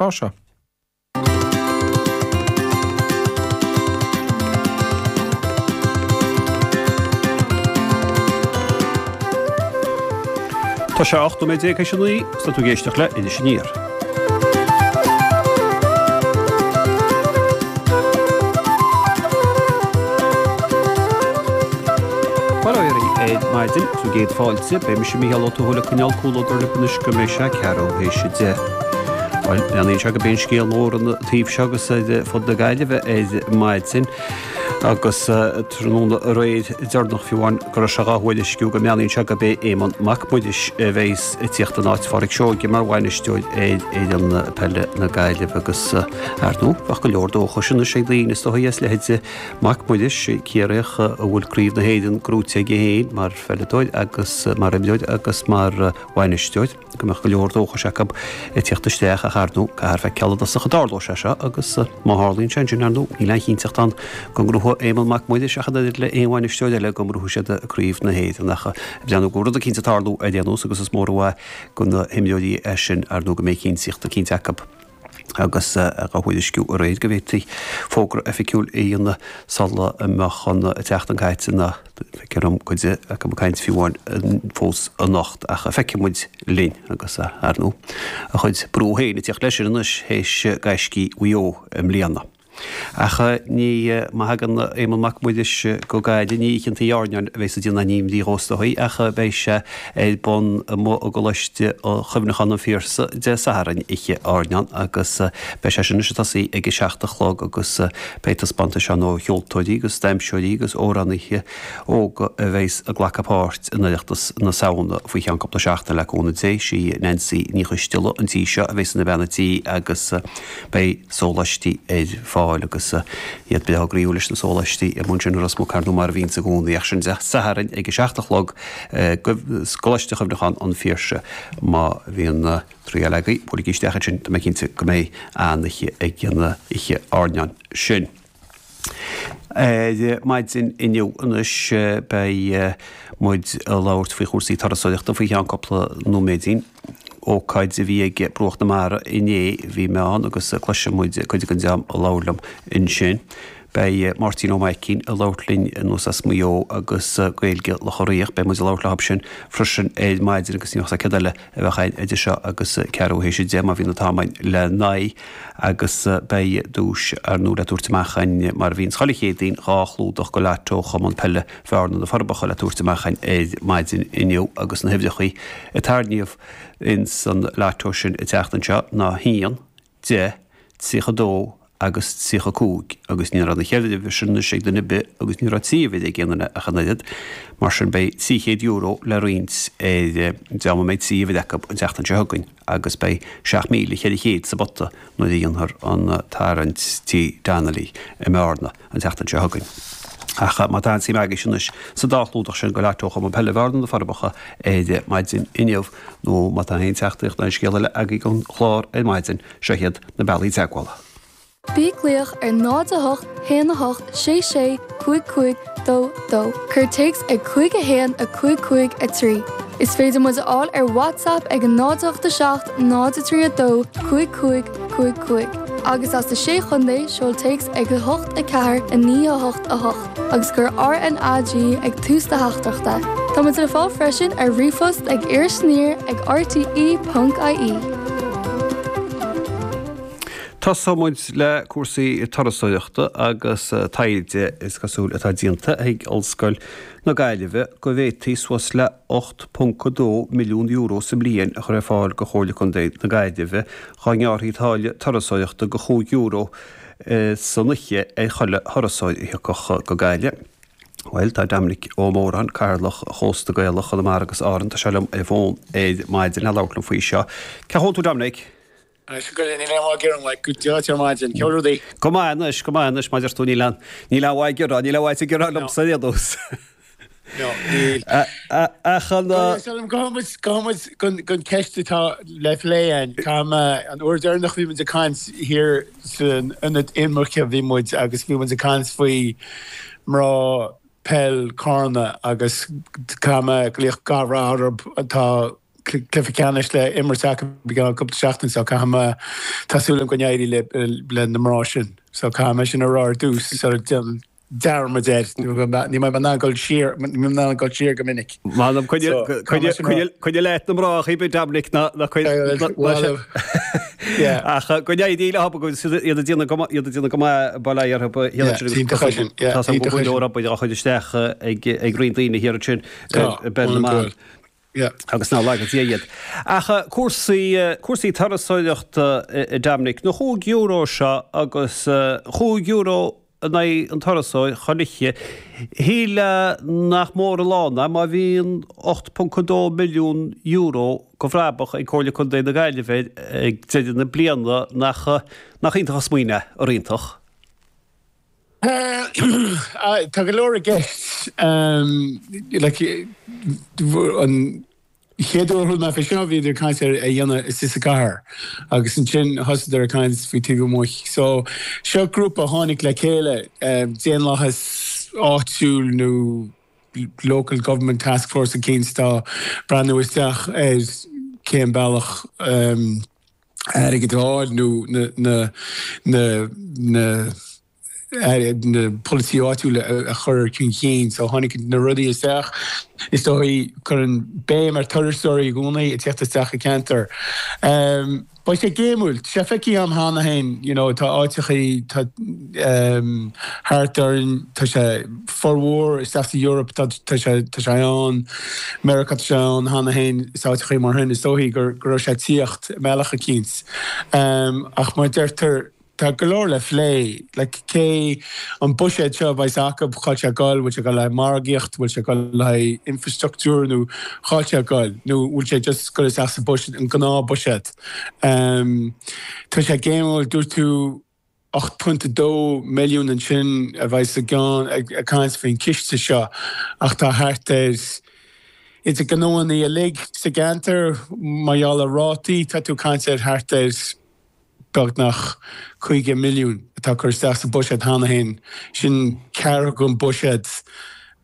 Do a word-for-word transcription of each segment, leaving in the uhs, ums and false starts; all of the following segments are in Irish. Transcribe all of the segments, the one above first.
tráth seo. Tá sé ocht nóiméad déag théis a naoi agus tá tú ag éisteacht le Iris Aniar. Bail ó Dhia oraibh ar maidin, is bhur gcéad fáilte. Beidh mise Mícheál Ó Tuathail ag coinneáil comhluadar libh anois go mbeidh sé ceathrú théis a deich. Bhuel, breathnaíonn sé go b'é an scéal mór an taobh seo agus ar fud na Gaillimhe ar maidin. Agus tráthnóna aréir deireanach fiú amháin go raibh sé dhá thuairisciú go mbreathnaíonn sé gurb é Éamonn Mac Muiris a bheas ag tíocht in áit Phádraic Seoige mar bhainisteoir ar fhoireann peile na Gaillimhe agus ar ndóigh bheadh go leor dóchais anois ag daoine is dóigh as leithéide Mac Muiris, Ciarraíoch a bhfuil Craobh na hÉireann gnóite aige féin mar pheileadóir agus mar imreoir agus mar bhainisteoir. go mbeadh go leor dóchais acu ag tíocht isteach ach ar ndóigh caithfear feiceáil i dtosach an dtarlóidh sé seo agus má tharlaíonn sé ansin ar ndóigh níl aon chinnteacht ann go ngnóthóidh Éamonn Mac Muiris ach an oiread le aon bhainisteoir eile go ngnóthóidh siad Craobh na hÉireann ach ag breathnú go bhfuil rud eicínt ag tarlú ar aon nós agus is mór an mhaith do na himreoirí é sin ar ndóigh go mbeidh cinnteacht eicínt acu agus dhá thuairisciú aréir go bhféadfaí fógra oifigiúil a dhéanamh sula mbeadh an tseachtain caite ná feictear dom cuid acu ag caint fiú amháin fós anocht ach feicfidh muid linn agus ar ndóigh a chuid brú féin ag tíocht leis sin anois théis gaiscí Mhaigh Eo i mbliana. Ach ní, má thagann Éamonn Mac Muiris go Gaillimh, ní Oíche an Tí Airneáin a bheas ag déanamh aon bhrí dhó is dóigh, ach beidh sé ar bun amuigh i gColáiste Chuimhneacháin an Phiarsaigh Dé Sathairn, Oíche Airneáin, agus beidh sé sin anois ag tosaí ag a seacht a chlog agus beidh taispeántais ann ó cheoltóirí agus damhsóirí agus amhránaithe óga a bheas ag glacadh páirt in Oireachtas na Samhna faoi cheann cúpla seachtain le cúnamh Dé. Sí Nancy Ní Choisteala an tí seo a bheas ina bean a' tí agus beidh sóláistí ar fáil agus iad breá groíúil leis na sóláistí amuigh ansin i Ros Muc ar ndóigh mar a bhíonns i gcónaí ach sin Dé Sathairn ag a seacht a chlog i gColáiste Chuimhneacháin an Phiarsaigh. Má bhíonn triail agaibh, buailigí isteach ansin, tá mé cinnte go mbeidh an-oíche ag an oíche airneáin sin. Ar maidin inniu anois beidh muid ag labhairt faoi chúrsaí turasóireachta faoi cheann cúpla nóiméidín. Ócáid a bhí ag Bruach na Mara inné, bhí mé ann agus cloisfidh muid cuid den dream a labhair liom ansin. Beidh Máirtín Ó Maicín ag labhairt linn anuas as Maigh Eo agus Gaeilge Locha Riach. Beidh muid ag labhairt leo sin freisin ar maidin agus ní bheadh céard eile a bheadh againn idir seo agus ceathrú théis a deich má bhíonn an t-am againn le n-aghaidh agus beidh duais ar ndóigh le tabhairt amach againn mar a bhíonns chuile Chéadaoin, dhá chlúdach go Lotto Chumann Peile Bhearna na Forbacha le tabhairt amach againn ar maidin inniu agus na huimhreachaí a tarraingíodh ins an Lotto sin an tseachtain seo ná haon, deich, tríocha dó agus tríocha cúig agus ní raibh na ceithre uimhir sin anois ag duine ar bith agus ní raibh trí uimhir ag aon duine ach an oiread. Mar sin beidh trí chéad euro le roinnt ar dream a mbeidh trí uimhir acu an tseachtain seo chugainn agus beidh seacht míle cheithre chéad sa bpota nuair a dhéanfar an tarraingt Tí Donnelly i mBearna an tseachtain seo chugainn. Ach má tá aon suim agaibhse anois sa dá chlúdach sin go Lotto Chumann Peile Bhearna na Forbacha ar maidin inniu nó má tá aon teachtaireacht nó aon scéal eile agaibh don chlár ar maidin, seo iad na bealaí teagmhála. Bí ag glaoch ar náid a hocht haon a hocht sé sé cúig cúig dó dó. Cuir téacs ag cúig a haon a cúig cúig a trí. Is féidir muid a fháil ar WhatsApp ag a náid a hocht a seacht náid a trí a dó cúig cúig cúig cúig. Agus as na Sé Chontae, seol téacs ag a hocht a ceathair a naoi a hocht a hocht agus cuir RNAG ag tús do theachtaireachta. Tá muid le fáil freisin ar ríomhphost ag irisaniar ag rte ponc ie. Tosóidh muid le cúrsaí turasóireachta agus taighde is cosúil atá déanta ag Ollscoil na Gaillimhe go bhféadfaí suas le ocht ponc a dó milliún euro sa mbliain a chur ar fáil do Chomhairle Contae na Gaillimhe dhá ngearrfaí táille turasóireachta de chúig euro san oíche ar chuile thurasóir a thiocfadh go Gaillimh. Bhuel, tá Dominic Ó Móráin, Cathaoirleach Chósta Gaelach Chonamara agus Árann, tá sé liom ar an bhfón ar maidin le labhairt liom faoi seo. Cén chaoi a bhfuil tú Dominic? Anois go níl aon mhaith ag gearán uait, go deo ar maidin. Cén rudaí? Go maith anois, go maith anois, mar a deir tú, níl aon, níl aon mhaith ag gearán, níl aon mhaith ag gearán liomsa ar aon nós. No, níl. Ach an. Gabhfaidh muid, gabhfaidh muid gon, gon ceist atá le plé againn. Caithfidh mé, an uair deireanach bhí muid ag caint thiar san ionad imirce bhí muid agus bhí muid ag caint faoi mná peil Carna agus caithfidh mé glaoch gach rath orthu atá cluiche ceannais le imirt acu i gceann cúpla seachtain so caithfidh mé tá súil agam go n-éirí le le na mná sin so caithfidh mé sin a rá ar dtús sula déanaim dearmad air níl mé in ann dul siar níl mé in ann dul siar go minic. M'anam coinnigh leat na mná a Dominic ná ná Ach go n-éirí leo agus iad ag déanamh go maith iad ag déanamh go maith bail ó Dhia orthu Tá go leor obair á chur isteach ag ag roinnt daoine thiar ansin i bpeil na mban. Agus ná laga Dia iad. Ach cúrsaí cúrsaí turasóireachta Dominic, na chúig euro seo agus chúig euro in aghaidh an turasóir chuile oíche, shílfeá nach mór a lán é má bhíonn ocht ponc a dó milliún euro de bhrabach ag Comhairle Contae na Gaillimhe ag deireadh na bliana nach nach iontach an smaoineamh é, ar iontach? Tá go leor i gceist. Like, an chéad uair a chuala mé faoi seo bhíodar ag caint ar a dhéanamh istigh sa chathair agus ansin thosaíodar ag caint faoi taobh amuigh. So seo grúpa a tháinig le chéile, daonlathas áitiúil nó local government task force eicínt atá breathnú isteach ar cén bealach airgead a fháil nó na na na na na polasaí áitiúla a chur chun cinn. So tháinig na rudaí isteach. Is dóigh cuireann béim ar turasóirí i gcónaí ag teacht isteach i gceantar. Beidh sé géimiúil. Tá sé feicthe agam cheana féin, you know, tá áiteachaí tá thart orainn, tá sé formhór isteach sa Eoraip, tá tá sé tá sé ann, Meiriceá tá sé ann cheana féin is áiteachaí mar sin. Is dóigh gur go raibh sé ag tíocht i mbealach eicínt. Ach mar a deirtear, Tá go leor le phlé. Like, cé an buiséad seo a bheas acu, cá bhfuil sé ag goil, bhfuil sé ag goil le haghaidh margaíocht, bhfuil sé ag goil le haghaidh infrastructúr nó cá bhfuil sé ag goil? Nó bhfuil sé just ag goil isteach sa buiséad, an gnáth buiséad? Um, tá sé géimiúil, dúirt tú ocht pointe dó milliún ansin a bheas sa gceann ag caint faoin ciste seo ach tá thart ar idir gnóanna uilig sa gceantar mar gheall ar rátaí, tá tú ag caint ar thart ar beagnach caoga milliún atá curtha isteach sa bhuiséad cheana féin. Sin ceathrú den bhuiséad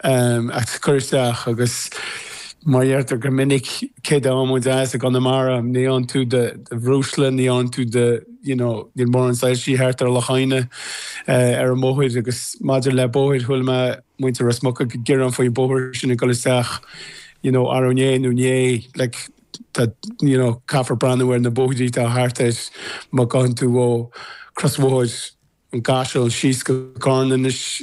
atá curtha isteach agus mar a deirtear go minic, cé dá muid as i gConamara, ní fhaigheann tú do bhreosla, ní fhaigheann tú do, you know, níl mórán soilsí thart ar Loch Adhna ar an mbóthar agus maidir le bóthair, chuala mé muintir Ros Muc ag gearán faoin bóthar sin ag dul isteach, you know, arú inné nó inné, like, tá, you know, caithfear breathnú ar na bóithrí atá thart air má ghabhann tú ó crosbhóthar an gCaiseal síos go Carna anois,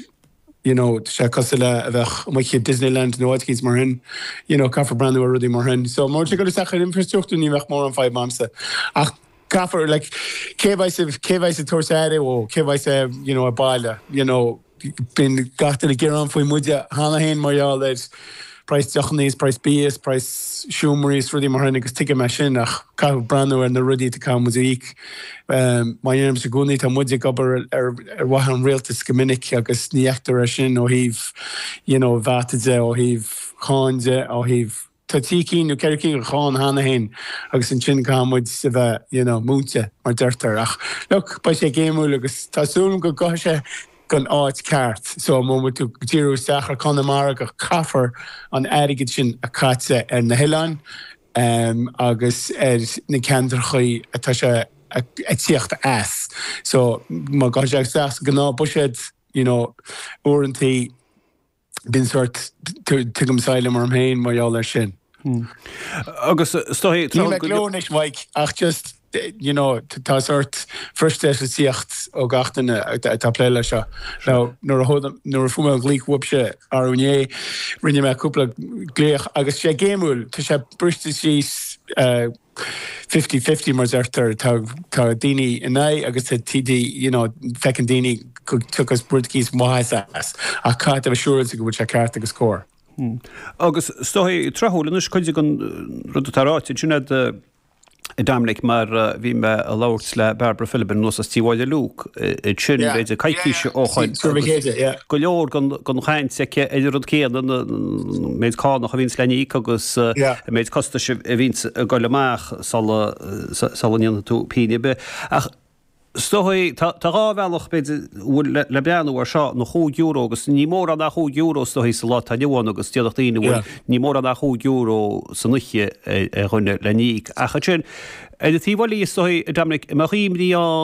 you know, tá sé cosúil le a bheith amuigh i Disneyland nó áit eicínt mar sin, you know, caithfear breathnú ar rudaí mar sin. So má tá sé ag dul isteach ar infrastruchtúr ní bheadh mórán fadhb a'msa. Ach caithfear, like, cé bheidh, cé bheidh ag tabhairt aire dhó, cé bheidh, you know, ag baile, you know, Bíonn gach duine ag gearán faoi muide cheana féin mar gheall ar praghas deochanna is praghas bia is praghas seomraí is rudaí mar sin agus tuigim é sin ach caithfidh breathnú ar na rudaí atá caithfidh muid a íoc. Mar a deirimse i gcónaí tá muid ag obair ar mhaithe an rialtais go minic agus ní fheictear é sin ó thaobh you know VAT de, ó thaobh cáin de, ó thaobh Tá trí cinn nó ceithre cinn de cháin cheana féin agus ansin caithfidh muid a bheith, you know, múinte, mar deirtear. Ach look, beidh sé géimiúil agus tá súil agam go gcaithfidh sé gon áit ceart. So má bhfuil tú ag díriú isteach ar Conamara go caithfear an airgead sin a caite ar na hoileáin agus ar na ceantrachaí atá sé ag tíocht as. So má gabhann sé isteach sa gnáth buiséad, you know, uaireantaí, Bíonn sórt, tugaim asylum orm féin mar gheall air sin. Agus is dóigh, Níl mé ag gleo anois, Mike, ach just, you know, tá sórt frustration ag tíocht ó gach duine atá ag plé leis seo. Now, nuair a nuair a fuair mé an glaoch uaibhse arú inné, rinne mé cúpla glaoch agus sé géimiúil, tá sé briste síos, fifty fifty mar deirtear, tá tá daoine in aghaidh agus tá TD, you know, feiceann daoine go dtiocfas rud eicínt mhaith as ach caithfidh tú a bheith siúráilte go bhfuil sé ceart agus cóir. Agus is dóigh tráthúil anois cuid den rud atá ráite ansin agat a Dominic mar bhí mé ag labhairt le Barbara Philbin anuas as Tí Mháire Luke ansin b'fhéidir coicís ó shoin agus go leor den chaint aici ar an rud céanna, an méid cánach a bhíonns le n-íoc agus an méid costais a bhíonns ag dul amach sula sula ndéanfaidh tú pingin ar bith. Ach Is dóigh, tá dhá bhealach, b'fhéidir, bhfuil le breathnú air seo, na chúig euro agus ní mórán ach chúig euro is dóigh sa lá atá inniu ann agus déarfadh daoine, bhuel, ní mórán ach chúig euro san oíche ar dhuine le n-íoc. Ach ansin, ar an taobh eile is dóigh, a Dominic, an mbeadh imní ann,